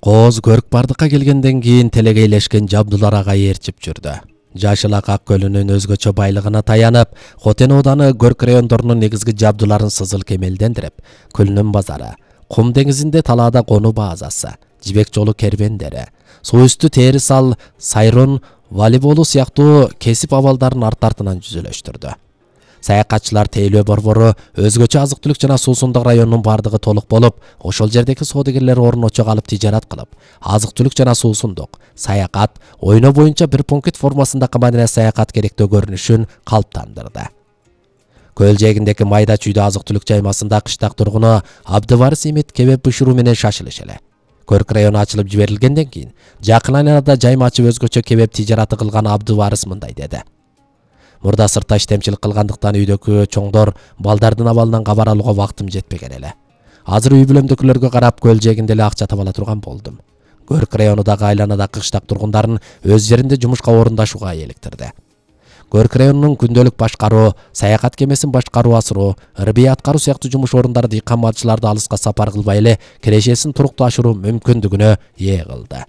Кооз көрк бардыкка келгенден кийин телегейлешкен Жабдулар агай ээрчип жүрдү. Жашыл Ак көлүнүн өзгөчө байлыгына таянып, Хотен ооданы көрк райондорунун негизги жабдууларын сызыл кемелдендирип, Күлнүн базары, Кум деңизинде талаада конуу базасы, Жибек жолу кервендери, суу үстү Терисал, Сайрон, волейболу сыяктуу кесип абалдарын арт-артынан жүзөлөштүрдү. Саякатчылар тейлөө борбору өзгөчө азык-түлүк жана суусундук районунун бардыгы толук болуп, ошол жердеги соодагерлер орночо калып тижарат кылып, азык-түлүк жана суусундук, саякат, ойноо боюнча бир пункт формасындагы мадина саякат керектөө көрүнүшүн калыптандырды. Көл жээгиндеги майда чүйдө азык-түлүк жаймасында кыштак тургуну Абдыварис Имет кебеп бышыруу менен шашылыш эле. Көрк району ачылып жиберилгенден кийин, жакын айланада жайма ачып өзгөчө кебеп тижараты кылган Абдыварис мындай деди. Мурда сыртта иштемчилик кылгандыктан үйдөгү чоңдор балдардын абалынан кабар алууга вактым жетпеген эле. Азыр үй бүлөмдөгүлөргө карап көл жээгинде эле акча таба ала турган болдум. Көрк районундагы айланадагы кыштак тургундарын өз жеринде жумушка орундашууга электирди. Көрк районунун күндөлүк башкаруу, саякат кемесин башкаруу асыруу, ырбий аткаруу сыяктуу жумуш орундары дыйкан малчыларды алыска сапар кылбай эле кирешесин туруктуу ашыруу мүмкүндүгүнө ээ кылды.